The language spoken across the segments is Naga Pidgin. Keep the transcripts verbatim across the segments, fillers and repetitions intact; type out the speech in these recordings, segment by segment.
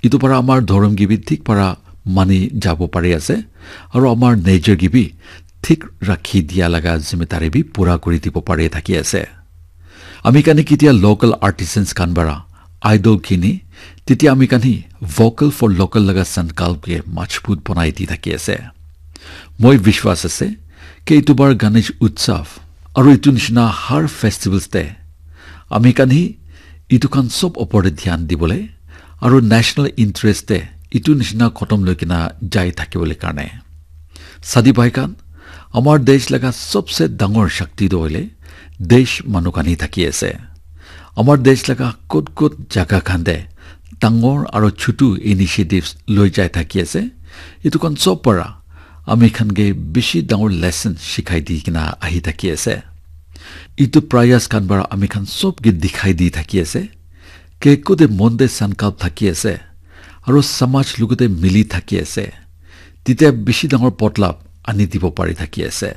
Etu para amar dhorom ke bi thik para mani jabo pari ase, aru amar nature ke bi thik rakhi dia laga zimedari bi pura kuri dibo pari thaki ase. Ami khan hi ketia local artisans khan para idol kini, tetia ami khan hi vocal for local laga sankalp ke majbut banai di thaki ase. Moi vishwas ase ke etu bar Ganesh Utsav aru etu nishina har festivals te ami khan hi etu khan sob opor te dhyan dibole aru national interest te etu nishina khotom loi kena jai thakibole karne. Sadi bhai khan, amar desh laga sobse dangor shakti toh hoile desh manu khan hi thaki ase. Amar desh laga kot kot jaga khan te dangor aru chutu initiatives loi jai thaki ase. Etu khan sob para ami khan ke bishi dangor lesson shikhai di kena ahi thaki ase. Etu prayas khan para ami khan sob ke dikhai di thaki ase ke kode mon te sankalp thaki ase aru samaj logote mili thaki ase, tetia bishi dangor podlap ani dibo pari thaki ase.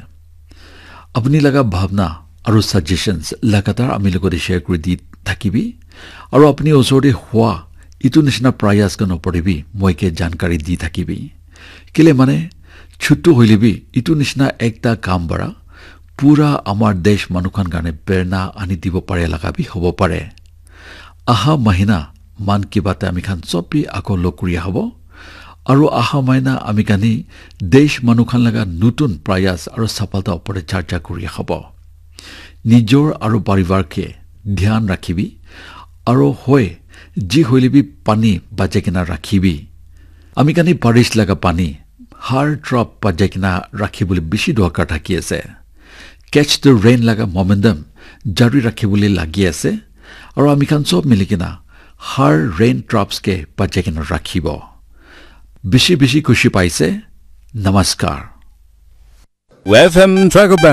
Apni laga bhabna aru suggestions lagatar ami logote share kuri di thakibi, aru apni osor te hua etu nishina prayas khan opor te bi moi ke jankari di thakibi. Kile mane, chutu hoile bi etu nishina ekta kam para pura amar desh manu khan karne prerna ani dibo pare laga bi hobo pare. Aha mahina Mann Ki Baat te ami khan sob bi ako log kuri hobo. Aru aha mahina ami khan hi desh manu khan laga nutun prayas aru safalta opor te charcha kuri hobo. Nijor aru parivar ke dhyan rakhibi. Aru hoi, ji hoile bi pani bachai kena rakhibi. Ami khan hi barish laga pani har drop bachai kena rakhibole bishi dorkar thaki ase. Catch the rain laga momentum jari rakhibole lagi ase. Aru ami khan sob mili kena har rain drops ke bachai kena rakhibo. Bishi bishi khushi paise. Namaskar. F M Tracker Band.